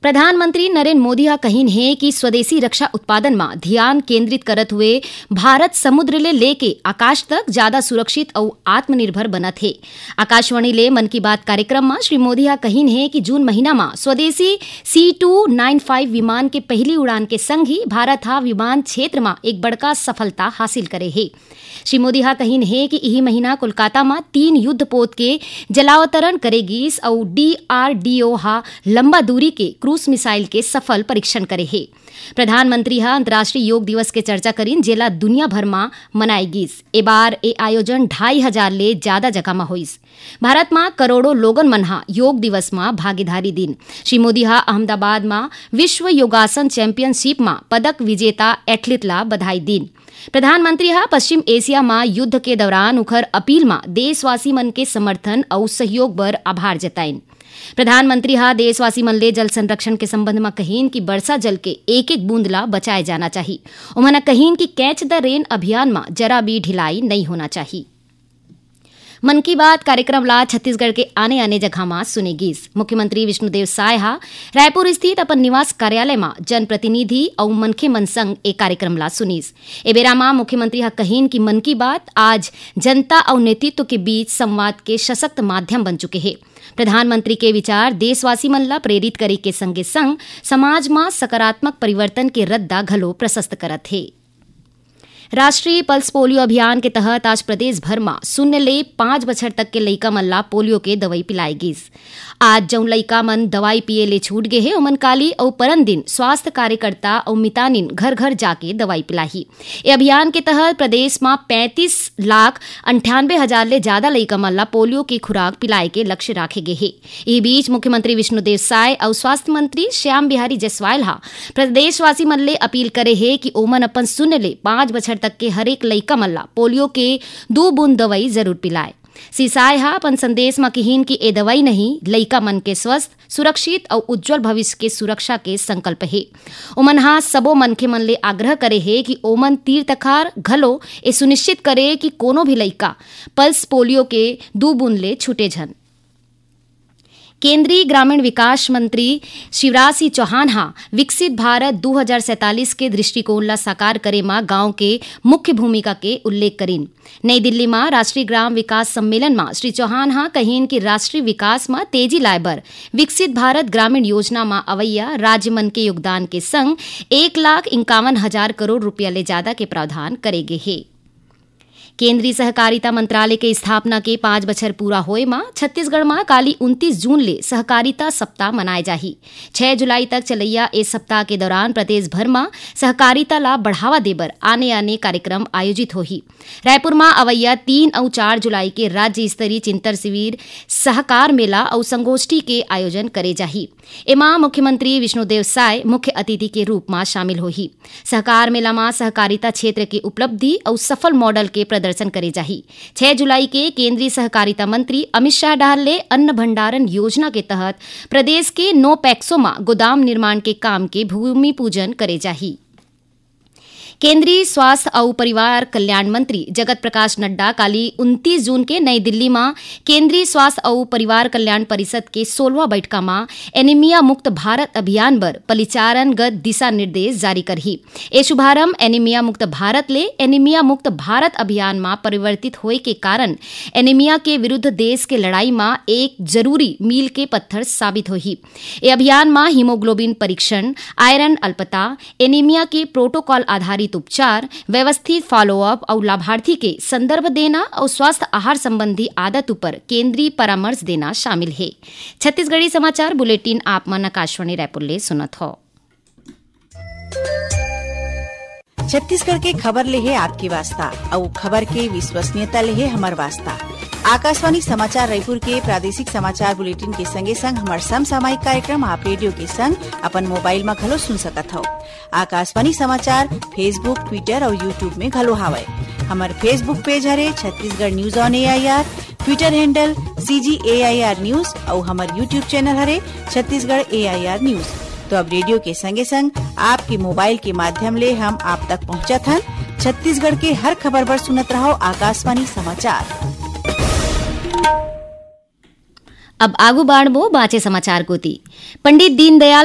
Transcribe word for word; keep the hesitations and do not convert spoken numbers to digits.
प्रधानमंत्री नरेंद्र मोदी ह कहिन हे कि स्वदेशी रक्षा उत्पादन म धियान केंद्रित करत हुए भारत समुद्र ले लेके आकाश तक जादा सुरक्षित अउ आत्मनिर्भर बनत हे। आकाशवाणी ले मन की बात कार्यक्रम म श्री मोदी ह कहिन हे कि जून महीना म स्वदेशी C two nine five विमान के पहिली उड़ान के संग ही भारत ह विमान क्षेत्र म एक बड़का सफलता हासिल करे हे। श्री मोदी ह कहिन हे कि इही महीना कोलकाता म तीन युद्ध पोत के जलावतरण करे गीस अउ D R D O ह लंबा दूरी के क्रूज मिसाइल के सफल परीक्षण करे हे। प्रधानमंत्री ह अंतर्राष्ट्रीय योग दिवस के चर्चा करिन, जेला दुनिया भर म मनाए गीस। ए बार ए आयोजन ढाई हजार ले जादा जगह म होइस। भारत म करोड़ों लोगन मन ह योग दिवस म भागीदारी दिन। श्री मोदी ह अहमदाबाद म विश्व योगासन चैंपियनशिप म पदक विजेता एथलीट ला बधाई दिन। प्रधानमंत्री ह पश्चिम एशिया म युद्ध के दौरान उखर अपील म देशवासी मन के समर्थन अउ सहयोग बर आभार जताइन। प्रधानमंत्री ह देशवासी मन ले जल संरक्षण के संबंध म कहिन कि बरसा जल के एक-एक बूंद ला बचाए जाना चाही। उमन ह कहिन कि कैच द रेन अभियान म जरा भी ढिलाई नइ होना चाही। मन की बात कार्यक्रम ला छत्तीसगढ़ के आने-आने जगह म सुने गीस। मुख्यमंत्री विष्णुदेव साय ह रायपुर स्थित अपन निवास कार्यालय म जनप्रतिनिधि अउ मनखे मन संग ए कार्यक्रम ला सुनीस। ए बेरा म मुख्यमंत्री ह कहिन कि मन की बात आज जनता अउ नेतृत्व के बीच संवाद के सशक्त माध्यम बन चुके हे। प्रधानमंत्री के विचार देशवासी मन ला प्रेरित करे के संगे संग समाज म सकारात्मक परिवर्तन के रद्दा घलो प्रशस्त करत हे। राष्ट्रीय पल्स पोलियो अभियान के तहत आज प्रदेश भर म शून्य ले पाँच बछर तक के लइका मन ला पोलियो के दवई पिलाए गीस। आज जउन लइका मन दवाई पिए ले छूट गे हे, ओमन काली अउ परन दिन स्वास्थ्य कार्यकर्ता अउ मितानिन घर-घर जाके दवाई पिलाही। ए अभियान के तहत प्रदेश म पैंतीस लाख अंठानबे हजार ले जादा लइका मन ला पोलियो के खुराक पिलाए के लक्ष्य राखे गे हे। इही बीच मुख्यमंत्री विष्णुदेव साय अउ स्वास्थ्य मंत्री श्याम बिहारी जायसवाल ह प्रदेशवासी मन ले अपील करे हे कि ओमन अपन शून्य ले पाँच बछर तक के हरेक लइका मन ला पोलियो के दू बूंद दवई जरूर पिलाए। श्री साय ह अपन संदेश म किहिन कि ए दवई नहीं लइका मन के स्वस्थ, सुरक्षित अउ उज्जवल भविष्य के सुरक्षा के संकल्प हे। ओमन ह सबो मनखे मन ले आग्रह करे हे कि ओमन तीर तखार घलो ए सुनिश्चित करे कि कोनो भी लइका पल्स पोलियो के दू बूंद ले छूटे झन। केंद्रीय ग्रामीण विकास मंत्री शिवराज सिंह चौहान ह विकसित भारत दू हजार सैंतालीस के दृष्टिकोण ला साकार करे म गांव के मुख्य भूमिका के उल्लेख करिन। नई दिल्ली म राष्ट्रीय ग्राम विकास सम्मेलन म श्री चौहान ह कहिन कि राष्ट्रीय विकास म तेजी लाए बर विकसित भारत ग्रामीण योजना म अवैया राज्य मन के योगदान के संग एक लाख इक्यावन हजार करोड़ रुपया ले जादा के प्रावधान करे गे हे। केंद्रीय सहकारिता मंत्रालय के स्थापना के पांच बछर पूरा होए म छत्तीसगढ़ म काली उनतीस जून ले सहकारिता सप्ताह मनाए जाही। छह जुलाई तक चलैया ए सप्ताह के दौरान प्रदेश भर म सहकारिता ला बढ़ावा देबर आने-आने कार्यक्रम आयोजित होही। रायपुर म अवैया तीन अउ चार जुलाई के राज्य स्तरीय चिंतन शिविर, सहकार मेला अउ संगोष्ठी के आयोजन करे जाही। एमा मुख्यमंत्री विष्णुदेव साय मुख्य अतिथि के रूप म शामिल होही। सहकार मेला म सहकारिता क्षेत्र के उपलब्धि अउ सफल मॉडल के प्रदर्शन करे जाही। छह जुलाई के केंद्रीय सहकारिता मंत्री अमित शाह डहार ले अन्न भंडारण योजना के तहत प्रदेश के नौ पैक्सों म गोदाम निर्माण के काम के भूमि पूजन करे जाही। केंद्रीय स्वास्थ्य अउ परिवार कल्याण मंत्री जगत प्रकाश नड्डा काली उनतीस जून के नई दिल्ली म केंद्रीय स्वास्थ्य अउ परिवार कल्याण परिषद के सोलहवां बैठका म एनीमिया मुक्त भारत अभियान बर परिचालनगत दिशा निर्देश जारी करही। ए शुभारंभ एनीमिया मुक्त भारत ले एनीमिया मुक्त भारत अभियान म परिवर्तित होए के कारण एनीमिया के विरुद्ध देश के लड़ाई म एक जरूरी मील के पत्थर साबित होही। ए अभियान म हीमोग्लोबिन परीक्षण, आयरन अल्पता, एनीमिया के प्रोटोकॉल आधारित उपचार, व्यवस्थित फॉलोअप अउ लाभार्थी के संदर्भ देना अउ स्वस्थ आहार संबंधी आदत ऊपर केंद्रीय परामर्श देना शामिल हे। छत्तीसगढ़ी समाचार बुलेटिन आप मन आकाशवाणी रायपुर ले सुनत हव। छत्तीसगढ़ के खबर ले हे आपके वास्ता, अउ खबर के विश्वसनीयता ले हे हमर वास्ता। आकाशवाणी समाचार रायपुर के प्रादेशिक समाचार बुलेटिन के संगे संग हमर समसामयिक कार्यक्रम आप रेडियो के संग अपन मोबाइल म घलो सुन सकत हव। आकाशवाणी समाचार Facebook, Twitter अउ YouTube में घलो हावय। हमर Facebook पेज हरे Chhattisgarh news on AIR, Twitter handle CG AIR news अउ हमर YouTube चैनल हरे छत्तीसगढ़ AIR न्यूज। तो अब रेडियो के संगे संग आपके मोबाइल के माध्यम ले हम आप तक पहुंचत हन छत्तीसगढ़ के हर खबर बर सुनत रहव आकाशवाणी समाचार। अब आगू बाढ़बो बांचे समाचार कोती। पंडित दीनदयाल